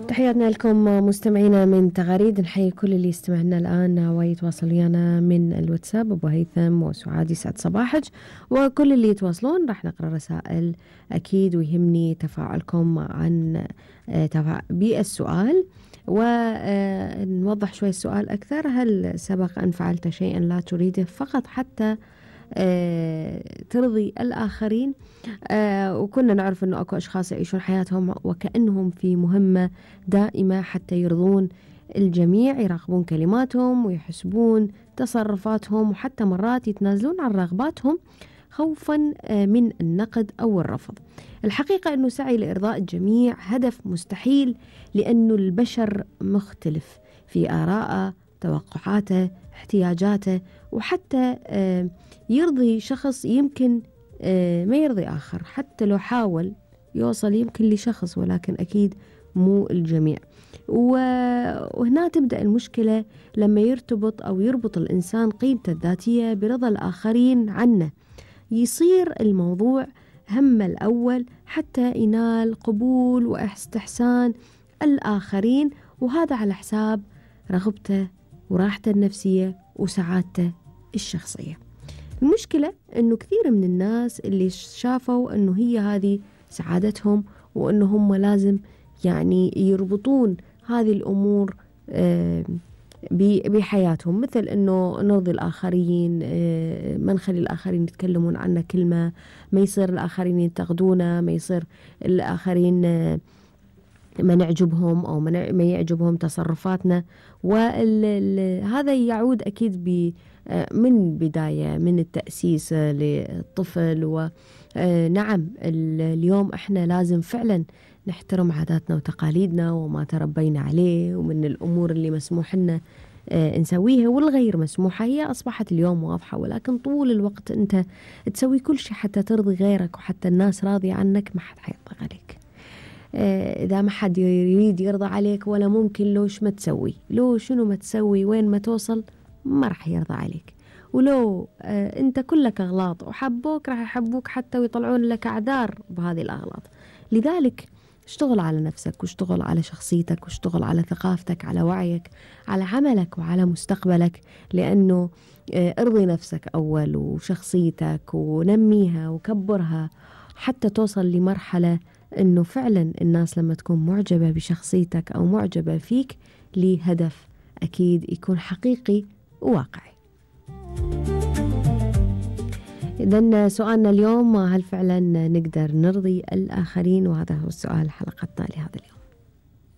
تحياتنا لكم مستمعينا من تغاريد. نحيي كل اللي يستمعنا الآن ويتواصل ويانا من الواتساب. أبو هيثم وسعاد يسعد صباحك، وكل اللي يتواصلون راح نقرأ رسائل أكيد، ويهمني تفاعلكم عن بالسؤال، ونوضح شوي السؤال أكثر. هل سبق أن فعلت شيئا لا تريده فقط حتى ترضي الآخرين؟ وكنا نعرف أنه أكو أشخاص يعيشون حياتهم وكأنهم في مهمة دائمة حتى يرضون الجميع، يراقبون كلماتهم ويحسبون تصرفاتهم، وحتى مرات يتنازلون عن رغباتهم خوفا من النقد أو الرفض. الحقيقة أنه سعي لإرضاء الجميع هدف مستحيل، لأنه البشر مختلف في آراءه، توقعاته، احتياجاته، وحتى يرضي شخص يمكن ما يرضي آخر، حتى لو حاول يوصل يمكن لشخص، ولكن أكيد مو الجميع. وهنا تبدأ المشكلة لما يربط الإنسان قيمته الذاتية برضا الآخرين عنه، يصير الموضوع همه الأول حتى ينال قبول واستحسان الآخرين، وهذا على حساب رغبته وراحته النفسية وسعادته الشخصية. المشكلة أنه كثير من الناس اللي شافوا أنه هي هذه سعادتهم، وأنه هم لازم يعني يربطون هذه الأمور بحياتهم، مثل أنه نرضي الآخرين، ما نخلي الآخرين يتكلمون عنا كلمة، ما يصير الآخرين ينتقدونا، ما يصير الآخرين ما نعجبهم أو ما يعجبهم تصرفاتنا. وهذا يعود أكيد من بداية من التأسيس للطفل. ونعم اليوم احنا لازم فعلا نحترم عاداتنا وتقاليدنا وما تربينا عليه، ومن الأمور اللي مسموح لنا نسويها والغير مسموحة هي أصبحت اليوم واضحة، ولكن طول الوقت أنت تسوي كل شيء حتى ترضي غيرك وحتى الناس راضية عنك، ما حد حيرضى عليك. إذا ما حد يريد يرضى عليك ولا ممكن، لوش ما تسوي، لو شنو ما تسوي، وين ما توصل ما راح يرضى عليك. ولو أنت كلك أغلاط وحبوك، راح يحبوك حتى ويطلعون لك أعذار بهذه الأغلاط. لذلك اشتغل على نفسك، واشتغل على شخصيتك، واشتغل على ثقافتك، على وعيك، على عملك، وعلى مستقبلك، لأنه ارضي نفسك أول وشخصيتك ونميها وكبرها حتى توصل لمرحلة أنه فعلا الناس لما تكون معجبة بشخصيتك أو معجبة فيك لهدف أكيد يكون حقيقي وواقعي. إذن سؤالنا اليوم، هل فعلا نقدر نرضي الآخرين؟ وهذا هو السؤال حلقتنا لهذا اليوم.